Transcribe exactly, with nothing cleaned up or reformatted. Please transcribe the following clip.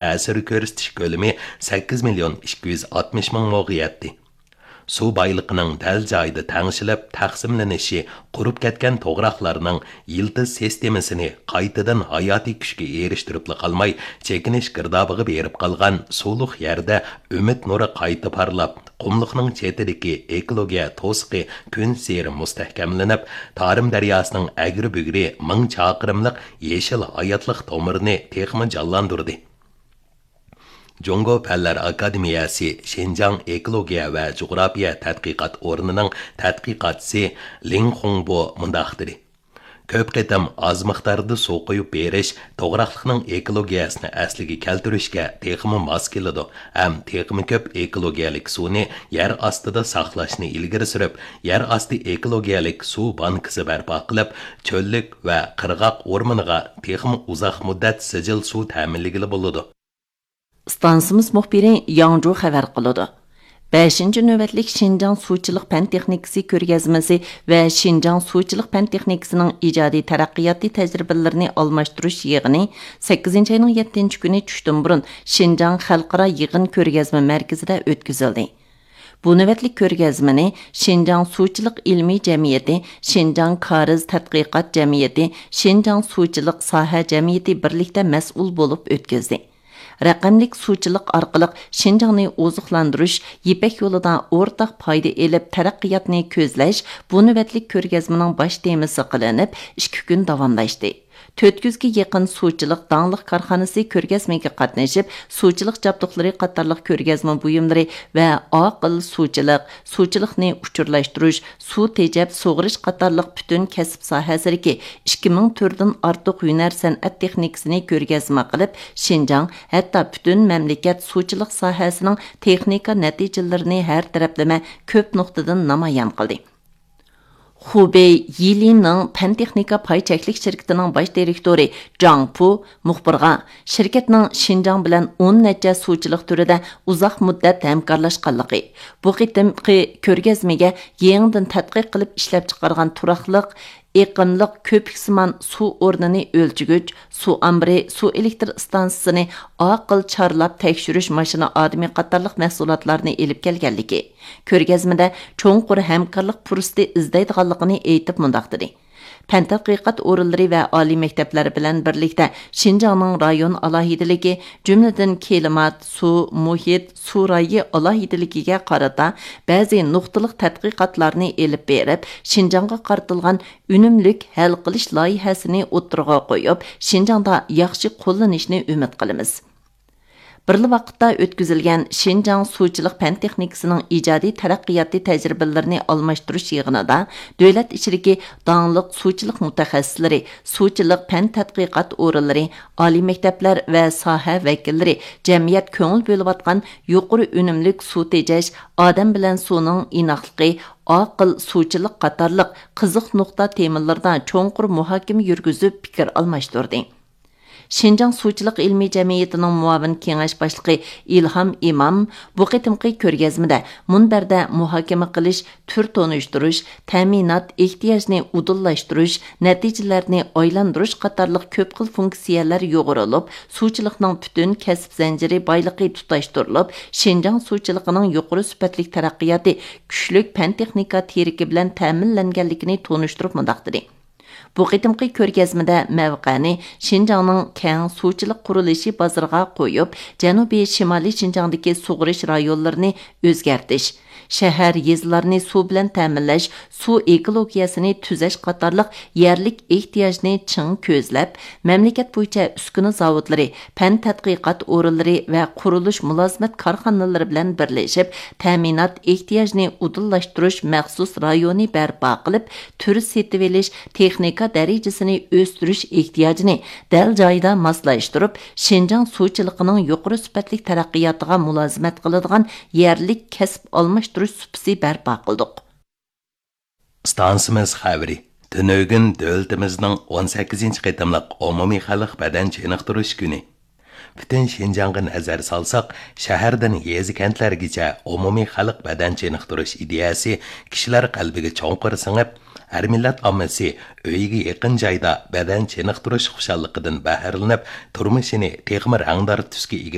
تەسىر كۆرسىتىش كۆلىمى سەككىز مىليون ئىككى يۈز ئاتمىش مىڭ موغا يەتتى. سۇ بايلىقىنىڭ دەل جايىدا تەڭشىلىپ تەقسىملىنىشى قۇرۇپ كەتكەن توغراقلارنىڭ يىلتىز سىستېمىسىنى قايتىدىن ھاياتىي كۈچكە ئېرىشتۈرۈپلا قالماي، چېكىنىش گىردابىغا بېرىپ قالغان سۇلۇق يەردە ئۈمىد نۇرى قايتا پارلاپ، قۇملۇقنىڭ چېتىدىكى ئېكولوگىيە توسۇقى كۈنسېرى مۇستەھكەملىنىپ، تارىم دەرياسىنىڭ ئەگرى-بۈگرى مىڭ چاقىرىملىق يېشىل ھاياتلىق تومۇرىنى تېخىمۇ جانلاندۇردى. جۇڭگو پەنلەر ئاكادېمىيەسى شىنجاڭ ئېكولوگىيە ۋە جۇغراپىيە تەتقىقات ئورنىنىڭ تەتقىقاتچىسى لىڭ خۇڭبو مۇنداق دېدى: كۆپ قېتىم ئاز مىقداردا سۇ قۇيۇپ بېرىش توغراقلىقنىڭ ئېكولوگىيەسىنى ئەسلىگە كەلتۈرۈشكە تېخىمۇ ماس كېلىدۇ ھەم تېخىمۇ كۆپ ئېكولوگىيەلىك سۇنى يەر ئاستىدا ساقلاشنى ئىلگىرى سۈرۈپ، يەر ئاستى ئېكولوگىيەلىك سۇ بانكىسى بەرپا قىلىپ، چۆللۈك ۋە قىرغاق ئورمىنىغا تېخىمۇ ئۇزاق مۇددەت سىجىل سۇ تەمىنلىگىلى بولىدۇ. ئىستانسىمىز مۇخبىرى ياڭجۇ خەۋەر قىلىدۇ. بەشىنچى نۆۋەتلىك شىنجاڭ سۇچىلىق پەن تېخنىكىسى كۆرگەزمىسى ۋە شىنجاڭ سۇچىلىق پەن تېخنىكىسىنىڭ ئىجادىي تەرەققىياتى تەجرىبىلىرىنى ئالماشتۇرۇش يىغىنى سەككىزىنچى ئاينىڭ يەتتىنچى كۈنى چۈشتىن بۇرۇن شىنجاڭ خەلقئارا يىغىن كۆرگەزمە مەركىزىدە ئۆتكۈزۈلدى. بۇ نۆۋەتلىك كۆرگەزمىنى شىنجاڭ سۇچىلىق ئىلمىي جەمئىيىتى، شىنجاڭ كارىز تەتقىقات جەمئىيىتى، شىنجاڭ سۇچىلىق ساھە جەمئىيىتى بىرلىكتە مەسئۇل بولۇپ ئۆتكۈزدى. رەقەملىك سۇچىلىق ئارقىلىق شىنجاڭنى ئوزۇقلاندۇرۇش، يىپەك يولىدا ئورتاق پايدا ئېلىپ تەرەققىياتنى كۆزلەش بۇ نۆۋەتلىك كۆرگەزمىنىڭ باش تېمىسى قىلىنىپ، ئىككى كۈن داۋاملاشتى. تۆت يۈزگە يېقىن سۇچىلىق داڭلىق كارخانىسى كۆرگەزمىگە قاتنىشىپ، سۇچىلىق جابدۇقلىرى قاتارلىق كۆرگەزمە بۇيۇملىرى ۋە ئاقىل سۇچىلىق، سۇچىلىقنى ئۇچۇرلاشتۇرۇش، سۇ تېجەپ سۇغىرىش قاتارلىق پۈتۈن كەسىپ ساھەسىدىكى ئىككى مىڭ تۈردىن ئارتۇق ھۈنەر سەنئەت تېخنىكىسىنى كۆرگەزمە قىلىپ، شىنجاڭ، ھەتتا پۈتۈن مەملىكەت سۇچىلىق ساھەسىنىڭ تېخنىكا نەتىجىلىرىنى ھەر تەرەپلىمە كۆپ نۇقتىدىن نامايان قىلدى. خۇبېي يىلىنىڭ پەن تېخنىكا پاي چەكلىك شىركىتىنىڭ باش دىرېكتورى جاڭ پۇ مۇخبىرغا شىركەتنىڭ شىنجاڭ بىلەن ئون نەچچە سۇچىلىق تۈرىدە ئۇزاق مۇددەت ھەمكارلاشقانلىقى، بۇ قېتىمقى كۆرگەزمىگە يېڭىدىن تەتقىق قىلىپ ئىشلەپچىقارغان تۇراقلىق، ئېقىملىق كۆپۈكسىمان سۇ ئورنىنى ئۆلچىگۈچ، سۇ ئامبىرى، سۇ ئېلېكتر ئىستانسىسىنى ئاقىل چارلاپ تەكشۈرۈش ماشىنا ئادىمى قاتارلىق مەھسۇلاتلارنى ئېلىپ كەلگەنلىكى، كۆرگەزمىدە چوڭقۇر ھەمكارلىق پۇرسىتى ئىزدەيدىغانلىقىنى ئېيتىپ مۇنداق دېدى: پەن تەتقىقات ئورۇنلىرى ۋە ئالىي مەكتەپلەر بىلەن بىرلىكتە شىنجاڭنىڭ رايون ئالاھىدىلىكى، جۈملىدىن كىلىمات، سۇ، مۇھىت، سۇ رايى ئالاھىدىلىكىگە قارىتا بەزى نۇقتىلىق تەتقىقاتلارنى ئېلىپ بېرىپ، شىنجاڭغا قارىتىلغان ئۈنۈملۈك ھەل قىلىش لايىھەسىنى ئوتتۇرىغا قويۇپ، شىنجاڭدا ياخشى قوللىنىشنى ئۈمىد قىلىمىز. بىرلا ۋاقىتتا ئۆتكۈزۈلگەن شىنجاڭ سۇچىلىق پەن تېخنىكىسىنىڭ ئىجادىي تەرەققىياتى تەجرىبىلىرىنى ئالماشتۇرۇش يىغىنىدا دۆلەت ئىچىدىكى داڭلىق سۇچىلىق مۇتەخەسسىسلىرى، سۇچىلىق پەن تەتقىقات ئورۇنلىرى، ئالىي مەكتەپلەر ۋە ساھە ۋەكىللىرى، جەمئىيەت كۆڭۈل بۆلۈۋاتقان يۇقىرى ئۈنۈملۈك سۇ تېجەش، ئادەم بىلەن سۇنىڭ ئىناقلىقى، ئاقىل سۇچىلىق قاتارلىق قىزىق نۇقتا تېمىلىرىدا چوڭقۇر مۇھاكىمە يۈرگۈزۈپ پىكىر ئالماشتۇردى. شىنجاڭ سۇچىلىق ئىلمىي جەمئىيىتىنىڭ مۇئاۋىن كېڭەش باشلىقى ئىلھام ئىمام بۇ قېتىمقى كۆرگەزمىدە مۇنبەردە مۇھاكىمە قىلىش، تۈر تونۇشتۇرۇش، تەمىنات ئېھتىياجىنى ئۇدۇللاشتۇرۇش، نەتىجىلەرنى ئايلاندۇرۇش قاتارلىق كۆپ خىل فۇنكسىيەلەر يۇغۇرۇلۇپ، سۇچىلىقنىڭ پۈتۈن كەسىپ زەنجىرى بايلىقى تۇتاشتۇرۇلۇپ، شىنجاڭ سۇچىلىقىنىڭ يۇقىرى سۈپەتلىك تەرەققىياتى، كۈچلۈك پەن تېخنىكا تىرىكى بىلەن تەمىنلەنگەنلىكىنى تونۇشتۇرۇپ مۇنداق دېدى: بۇ قېتىمقى كۆرگەزمىدە مەۋقەنى شىنجاڭنىڭ كەڭ سۇچىلىق قۇرۇلۇشى بازىرىغا قويۇپ، جەنۇبىي شىمالىي شىنجاڭدىكى سۇغىرىش رايونلىرىنى ئۆزگەرتىش، شەھەر، يېزىلارنى سۇ بىلەن تەمىنلەش، سۇ ئېكولوگىيەسىنى تۈزەش قاتارلىق يەرلىك ئېھتىياجنى چىڭ كۆزلەپ، مەملىكەت بويىچە ئۈسكۈنە زاۋۇتلىرى، پەن تەتقىقات ئورۇنلىرى ۋە قۇرۇلۇش مۇلازىمەت كارخانىلىرى بىلەن بىرلىشىپ، تەمىنات ئېھتىياجىنى ئۇدۇللاشتۇرۇش مەخسۇس رايونى بەرپا قىلىپ، تۈر سېتىۋېلىش، تېخنىكا دەرىجىسىنى ئۆستۈرۈش ئېھتىياجىنى دەل جايىدا ماسلاشتۇرۇپ، شىنجاڭ سۇچىلىقىنىڭ يۇقىرى سۈپەتلىك تەرەققىياتىغا مۇلازىمەت قىلىدىغان يەرلىك كەسىپ ئالماشتۇرۇش سۇپىسى بەرپا قىلدۇق. ئىستانسىمىز خەۋىرى. تۈنۈگۈن دۆلىتىمىزنىڭ ئون سەككىزىنچى قېتىملىق ئومۇمىي خەلق بەدەن چېنىقتۇرۇش كۈنى. پۈتۈن شىنجاڭغا نەزەر سالساق، شەھەردىن يېزا-كەنتلەرگىچە ئومۇمىي خەلق بەدەن چېنىقتۇرۇش ئىدىيەسى كىشىلەر قەلبىگە چوڭقۇر سىڭىپ، ھەر مىللەت ئاممىسى ئۆيىگە يېقىن جايدا بەدەن چېنىقتۇرۇش خۇشاللىقىدىن بەھرىلىنىپ، تۇرمۇشىنى تېخىمۇ رەڭدار تۈسكە ئىگە